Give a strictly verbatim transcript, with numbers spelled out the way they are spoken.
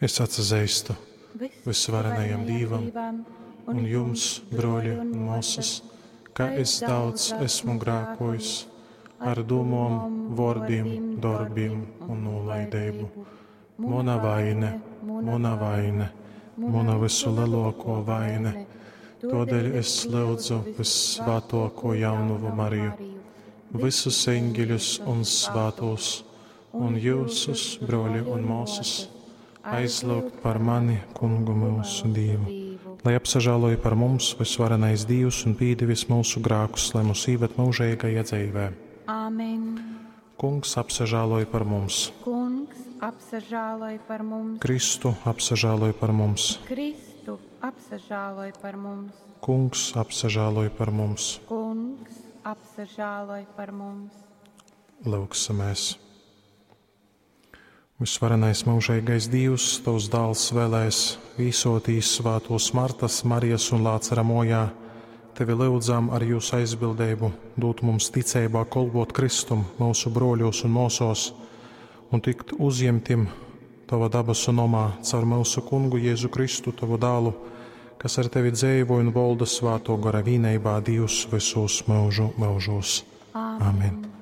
Es atsazeistu Vysvarenajam Dīvam un jums, brōļi un mōsas, ka es daudz esmu grākojis ar dūmom, vōrdim, dorbim un nūlaideibu. Muna vaine, muna vaine, muna vysulelōkō vaine. Tōdēļ es lyudzu vyssvātōkū jaunovu Mariju, vysus eņģeļus un svātūs, un jyusus, brōļi un mōsas, aizlyugt par mani Kungu myusu Dīvu. Lai apsažāloj par mums vysvarenais Dīvs un pīdevis myusu grākus, lai mūs īved mūžīgajā dzīvē. Āmen. Kungs apsažāloj par mums. Kungs apsažāloj par mums. Kristu apsažāloj par mums. Kristu apsažāloj par mums. Kungs apsažāloj par mums. Kungs apsažāloj par mums. Lūgsimies! Vysvarenais mūžīgais Dievs, Tavs dāls vēlēs vīsotīs svātos Martas, Marijas un Lācara mojā, Tevi lūdzam ar jūsu aizbildību, dūt mums ticeibā kolpot Kristum, mūsu broļos un mūsos, un tikt uzņemtim Tava dabasu nomā caur mūsu kungu Jēzu Kristu, Tavu dālu, kas ar Tevi dzīvo un valda svāto gara vīneibā Dievs visos mūžu mūžos. Āmen. Amen.